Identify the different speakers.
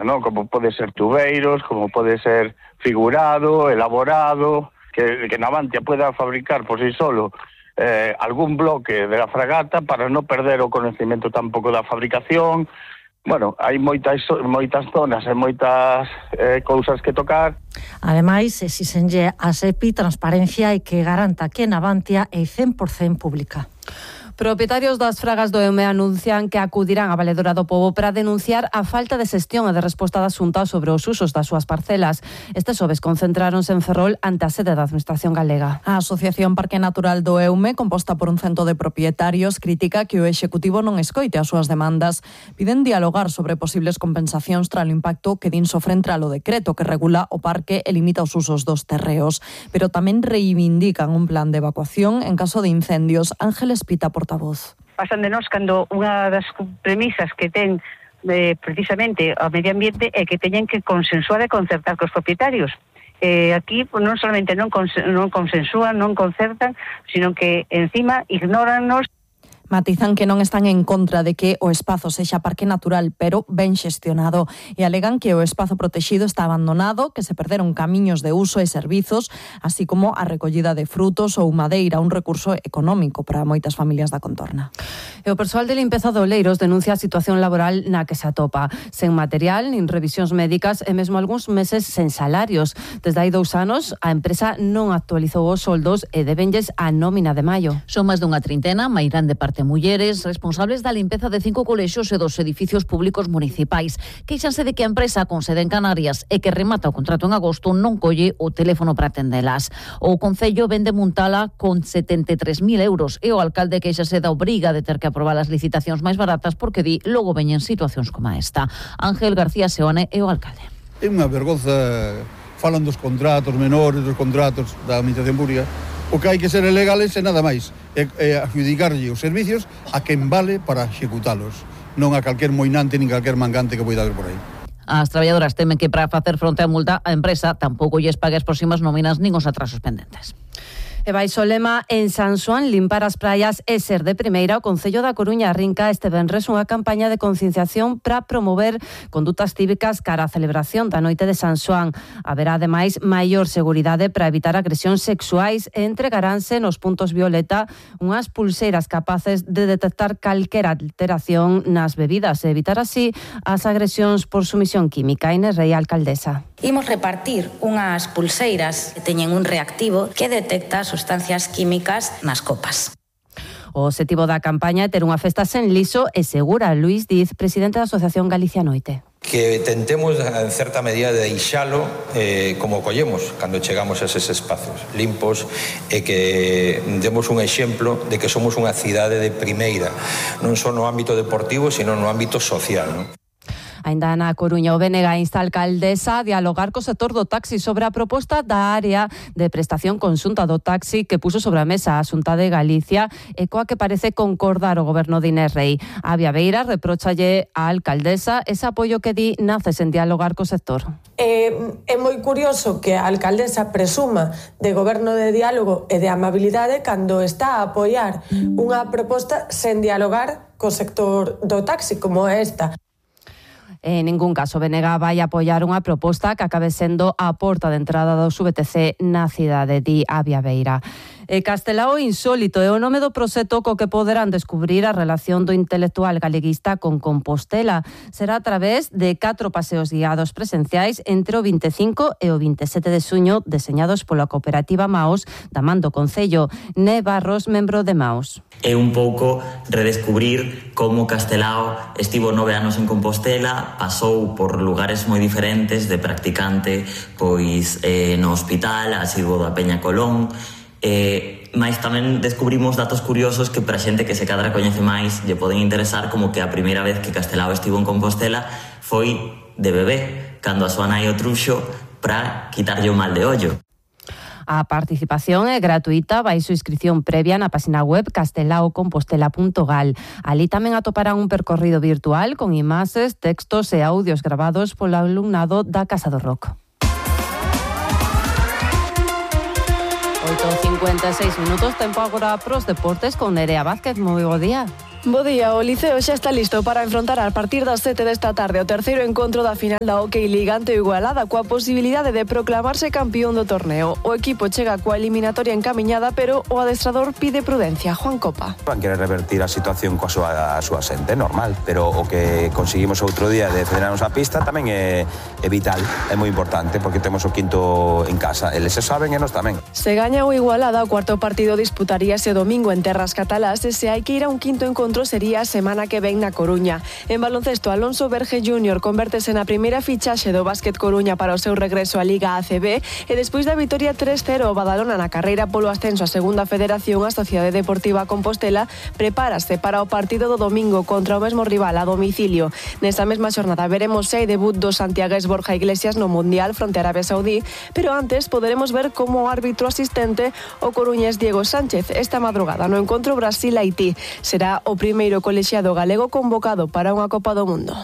Speaker 1: ¿no? Como pode ser tubeiros, como pode ser figurado, elaborado, que Navantia pueda fabricar por sí solo algún bloque de la fragata para non perder o conhecimento tampouco da fabricación. Bueno, hai moitas zonas e moitas cousas que tocar.
Speaker 2: Ademais, exixenlle a SEPI transparencia e que garanta que Navantia é 100% pública.
Speaker 3: Propietarios das fragas do EUME anuncian que acudirán á Valedora do Pobo para denunciar a falta de xestión e de resposta da Xunta sobre os usos das súas parcelas. Este xoves concentráronse en Ferrol ante a sede da Administración Galega.
Speaker 4: A Asociación Parque Natural do EUME, composta por un cento de propietarios, critica que o Executivo non escoite as súas demandas. Piden dialogar sobre posibles compensacións tras o impacto que din sofren tras o decreto que regula o parque e limita os usos dos terreos. Pero tamén reivindican un plan de evacuación en caso de incendios. Ángeles Pita, portavoz.
Speaker 5: Pasan de nós cando unha das premisas que ten precisamente o medio ambiente é que teñen que consensuar e concertar cos propietarios. Aquí non solamente non consensúan, non concertan, sino que encima ignórannos.
Speaker 4: Matizan que non están en contra de que o espazo sexa parque natural, pero ben xestionado, e alegan que o espazo protexido está abandonado, que se perderon camiños de uso e servizos, así como a recollida de frutos ou madeira, un recurso económico para moitas familias da contorna.
Speaker 3: E o persoal de limpeza de Oleiros denuncia a situación laboral na que se atopa, sen material, nin revisións médicas e mesmo algúns meses sen salarios. Desde hai 2 anos, a empresa non actualizou os soldos e debenlles a nómina de maio.
Speaker 6: Son máis dunha trintena, máis grande parte mulleres, responsables da limpeza de 5 colexios e 2 edificios públicos municipais. Queixanse de que a empresa con sede en Canarias e que remata o contrato en agosto non colle o teléfono para atendelas. O Concello vende Muntala con 73.000 euros e o alcalde queixase da obriga de ter que aprobar as licitacións máis baratas porque di logo veñen situacións como esta. Ángel García Seoane é o alcalde.
Speaker 7: É unha vergonza, falan dos contratos menores, dos contratos da administración pública. O que hai que ser legales e nada máis, é adjudicarlle os servicios a quen vale para executalos, non a calquer moinante nin calquer mangante que poida haber por aí.
Speaker 6: As traballadoras temen que para facer fronte á multa a empresa tampouco lles pague as próximas nóminas nin os atrasos pendentes.
Speaker 3: E baixo o lema en San Xoán, limpar as praias é ser de primeira, o Concello da Coruña arrinca este venres unha campaña de concienciación para promover condutas cívicas cara á celebración da noite de San Xoán. Haberá ademais maior seguridade para evitar agresións sexuais e entregaránse nos puntos violeta unhas pulseiras capaces de detectar calquera alteración nas bebidas e evitar así as agresións por sumisión química. Inés Rei, alcaldesa.
Speaker 8: Imos repartir unhas pulseiras que teñen un reactivo que detecta sustancias químicas nas copas.
Speaker 3: O obxectivo da campaña é ter unha festa sen liso e segura. Luís Diz, presidente da Asociación Galicia Noite.
Speaker 9: Que tentemos, en certa medida, de deixalo como collemos cando chegamos a eses espazos limpos e que demos un exemplo de que somos unha cidade de primeira, non só no ámbito deportivo, sino no ámbito social, non?
Speaker 3: Ainda na Coruña, o BNG insta a alcaldesa a dialogar co sector do taxi sobre a proposta da área de prestación conxunta do taxi que puxo sobre a mesa a Xunta de Galicia e coa que parece concordar o goberno de Inés Rei. A Beira repróchalle á alcaldesa ese apoio que di nace sen dialogar co sector.
Speaker 10: É moi curioso que a alcaldesa presuma de goberno de diálogo e de amabilidade cando está a apoiar unha proposta sen dialogar co sector do taxi como esta.
Speaker 3: En ningún caso, BNG vai apoiar unha proposta que acabe sendo a porta de entrada do VTC na cidade de Beira. Castelao insólito é o nome do proxecto co que poderán descubrir a relación do intelectual galeguista con Compostela. Será a través de 4 paseos guiados presenciais entre o 25 e o 27 de xuño, deseñados pola cooperativa Maos da man do Concello. Né Barros, membro de Maos.
Speaker 11: É un pouco redescubrir como Castelao estivo 9 anos en Compostela, pasou por lugares moi diferentes de practicante, pois no hospital, asiduo da Peña Colón, mais tamén descubrimos datos curiosos que para xente que se cadra coñece máis lle poden interesar, como que a primeira vez que Castelao estivo en Compostela foi de bebé, cando a súa nai o truxo para quitarlle o mal de ollo.
Speaker 3: A participación é gratuita, baixo inscripción previa na página web castelaocompostela.gal. Ali tamén atoparán un percorrido virtual con imaxes, textos e audios gravados polo alumnado da Casa do Rock. 8:56 minutos, tempo agora pros deportes con Nerea Vázquez. Moi bo día.
Speaker 12: Bo día, o Liceo xa está listo para enfrontar a partir das 7 desta tarde o terceiro encontro da final da Hockey Liga ante o Igualada coa posibilidade de proclamarse campeón do torneo. O equipo chega coa eliminatoria encamiñada, pero o adestrador pide prudencia. Juan Copa.
Speaker 13: Van querer revertir a situación coa súa xente, normal, pero o que conseguimos outro día de frenarnos a pista tamén é vital, é moi importante, porque temos o quinto en casa. Eles se saben e nós tamén.
Speaker 12: Se gaña o Igualada, o cuarto partido disputaríase domingo en terras catalás e se hai que ir a un quinto encontro sería a semana que ven na Coruña. En baloncesto, Alonso Verge Júnior convértese na primeira fichaxe do Básquet Coruña para o seu regreso á Liga ACB e despois da vitoria 3-0 o Badalona na carreira polo ascenso a segunda federación, a Sociedade Deportiva Compostela prepárase para o partido do domingo contra o mesmo rival a domicilio. Nesa mesma xornada veremos se hai debut do santiagués Borja Iglesias no Mundial fronte a Arabia Saudí, pero antes poderemos ver como o árbitro asistente o coruñés Diego Sánchez esta madrugada no encontro Brasil-Haití. Será o primeiro colexiado galego convocado para unha Copa do Mundo.